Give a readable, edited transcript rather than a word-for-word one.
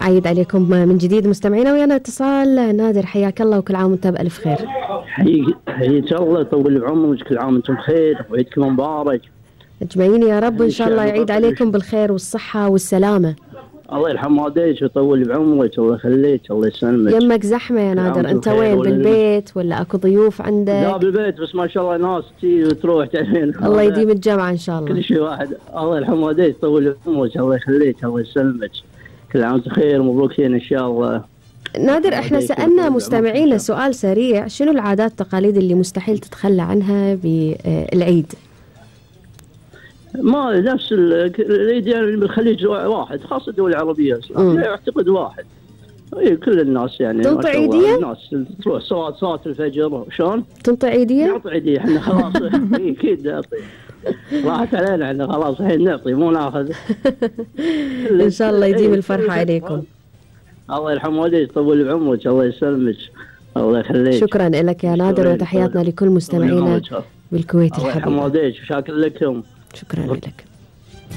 أعيد عليكم من جديد مستمعينا، ويانا اتصال نادر. حياك الله وكل عام وانت بألف خير. حياك الله، يطول بعمرك، كل عام وانتم بخير وعيدكم مبارك. اجمعين يا رب، وإن شاء الله يعيد عليكم بالخير والصحة والسلامة. الله يرحم والديك ويطول بعمرك، الله يخليك، الله يسلمك. يمك زحمة يا نادر، انت وين؟ بالبيت ولا اكو ضيوف عندك؟ لا بالبيت، بس ما شاء الله ناس تجي وتروح تعين. الله يديم الجمعة ان شاء الله. كل شيء واحد. الله يرحم والديك ويطول بعمرك، الله يخليك، الله يسلمك. كل عام وانت بخير ومبروكين ان شاء الله. نادر، احنا سألنا مستمعينا سؤال سريع، شنو العادات والتقاليد اللي مستحيل تتخلى عنها بالعيد؟ ما نفس العيد يعني بالخليج واحد، خاصة الدول العربية اعتقد واحد. اي كل الناس يعني تنطي عيدية؟ الناس تروح صلاة الفجر شلون؟ تنطي عيدية؟ نعطي عيدية احنا خلاص. اكيد نعطي، راحت علينا احنا خلاص، الحين نعطي مو ناخذ. ان شاء الله يديم الفرحة عليكم. الله يرحم والديك، يطول بعمرك، الله يسلمك، الله يخليك. شكرا لك يا نادر، وتحياتنا لكل مستمعينا بالكويت الحبيب. الله يرحم والديك وشاكر لكم. شكرا لك.